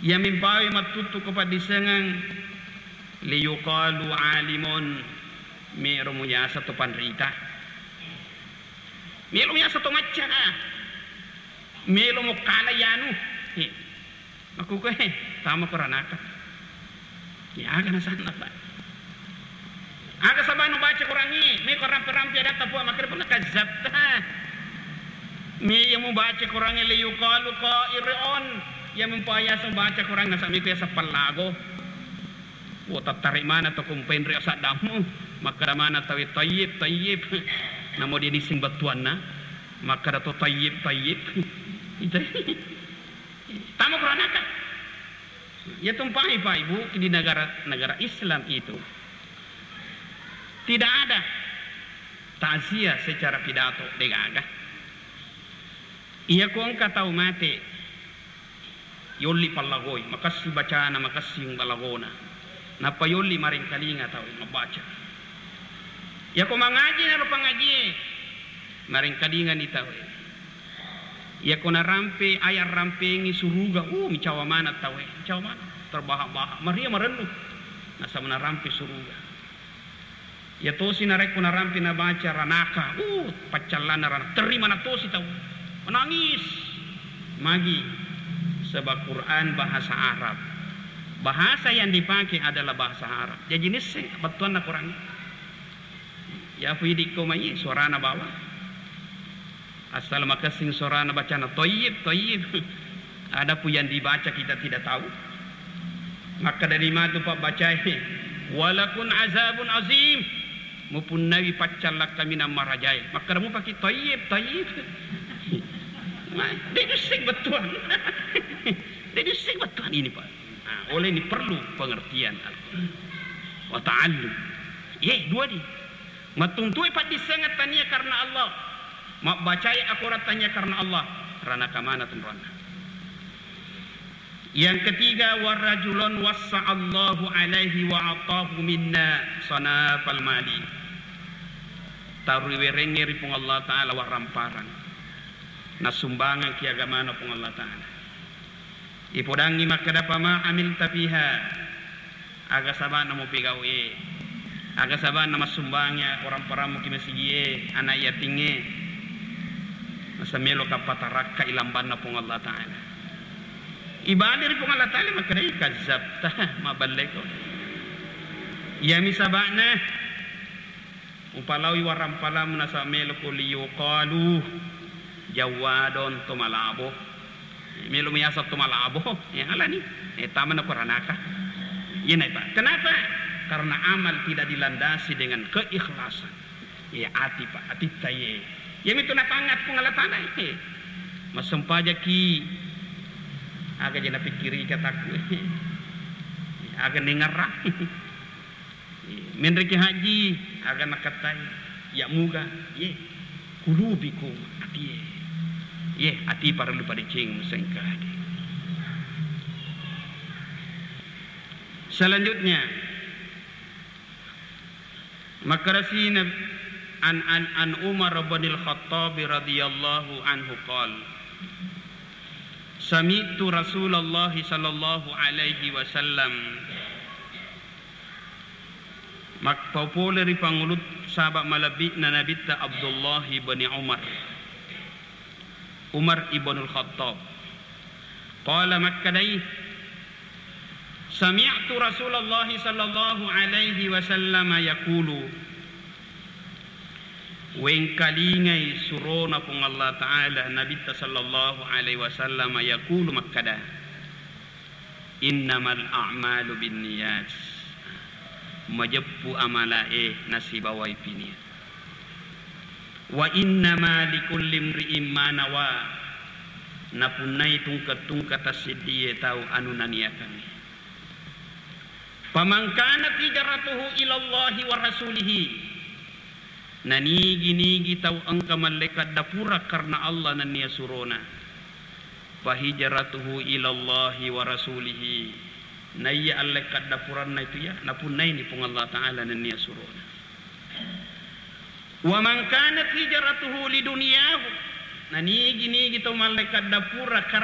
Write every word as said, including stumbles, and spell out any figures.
Iya mimpawi mattuttu ko paddissengeng, liyuqalu alimun, melo muyasa to panrita. Melo muyasa to macca, ah. Melo mo kala yanu. Eh, makkukue, tama ko ranaka. Ya, aga nasanna, Pak. Aga sabana baca Qurangnge, me ko rampe-rampe adatta Puang, makkeda Puang, kazzabta. Me iya mubaca Qurangnge, liyuqalu qari'un, iya mumpayasa baca Qurangnge, nasaba me ko yasa pallago. Wo, tattare mana to kumpenre asaddammu, makkeda mana tawe, tayyib, tayyib. Namo dia nisseng bettuanna, makkeda to tayyib, tayyib. Itu. Tama ko ranaka. Ya tumpahi, Pak, Ibu, di negara-negara Islam itu tidak ada takziah secara pidato, degaga. Iya ko engka tau mate, yolli pallagoi, makessing bacana, makessing lagona. Nappa yolli marengkalinga tau mabbaca. Iya ko mangaji naro pangajie, marengkalingani taue. Iya ko narampe aya rampengi suruga, uh, micawa maneng taue, micawa maneng, terbahak-bahak, maria marennu. Nasaba narampe suruga. Iya tosi narekko narampe nabaca ranaka, uh, paccallanna ranaka, terri maneng tosi tau. Menangis. Magi? Sebab Quran bahasa Arab. Bahasa yang dipakai adalah bahasa Arab. Jaji nisseng bettuanna Quran. Ya, fidikko mai suarana bawang. Asal makessing suarana bacana, toyyib, toyyib. Adapun yang dibaca kita tidak tahu. Makkedani matu pabbacae, walakun azabun azim. Mupunnai paccallak kaminang marajae. Makkeda mupaki, toyyib, toyyib. Ma, de' nisseng bettuang. De' nisseng bettuang ini, Pak. Nah, oleh ini perlu pengertian Al-Quran. Wa ta'allum. Ye, dua di. Mattuntui paddissengeng tania karena Allah. Mabbacai akorang tania karena Allah. Ranaka mana tunranna. Yang ketiga, warajulun wassa'allahu alaihi wa atahu minna sanafal mali. Tariwerengnge ri Puang Allah Ta'ala warramparang. Nasumbangang ki agamana Puang Allah Ta'ala. Ipodangngi makkeda, fama amilta fiha, aga saba'na mupegau'e, aga saba'na massumbangngi orang parammu ki masigie, anak yatingnge, masa melo ka patarakka ilambanna Puang Allah Ta'ala. Ibali ri Puang Allah Ta'ala makkeda, kazzabta, maballeko. Iyami saba'na. Upalaoi warang palammu nasaba melo ko liyuqalu jawwadon to malabo. Melo miaseng to malabo, ya alani. Eh, tamana ko ranaka. Iyana, Pak. Kenapa? Karena amal tidak dilandasi dengan keikhlasan. Ya, ati, Pak, atitta ye. Iyami tu napangat Puang Allah Ta'ala, eh. Massempajaki. Aga je napikkiri kataku, eh. Aga nengarang. Menreki haji, aga nakattai, ya muga, ye, kulubikum, atie. Ye, ati parellu padeceng musengka haji. Selanjutnya, makkarasina an, an, an Umar bin Al-Khattab radhiyallahu anhu qal, sami'tu Rasulullah sallallahu alaihi wasallam Mappapole ri pangulu saba malebbi'na Nabitta Abdullah ibni Umar, Umar ibnul Khattab. Qala makkedai, sami'tu Rasulullah sallallahu alaihi wasallam yaqulu, wengkalingai surona Puang Allah Ta'ala Nabitta sallallahu alaihi wasallam yaqulu makkeda, innamal a'malu binniyat. Majeppu amalae nasibawai piniat. Wa innama likulli imri'in ma nawa. Napunnai tungke-tungke tassiddie tau anu naniakangngi. Faman kanat hijratuhu ilallahi wa rasulihi. Nanigi-nigi tau engka mallekat dapura karena Allah nennia surona. Fahijratuhu ilallahi wa rasulihi. Naiya allekka dapuranna itu ya, napunnaini Puang Allah Ta'ala nennia surona. Wa man kanat hijratuhu lidunyahu. Nanigi-nigi tau mallekka dapura karena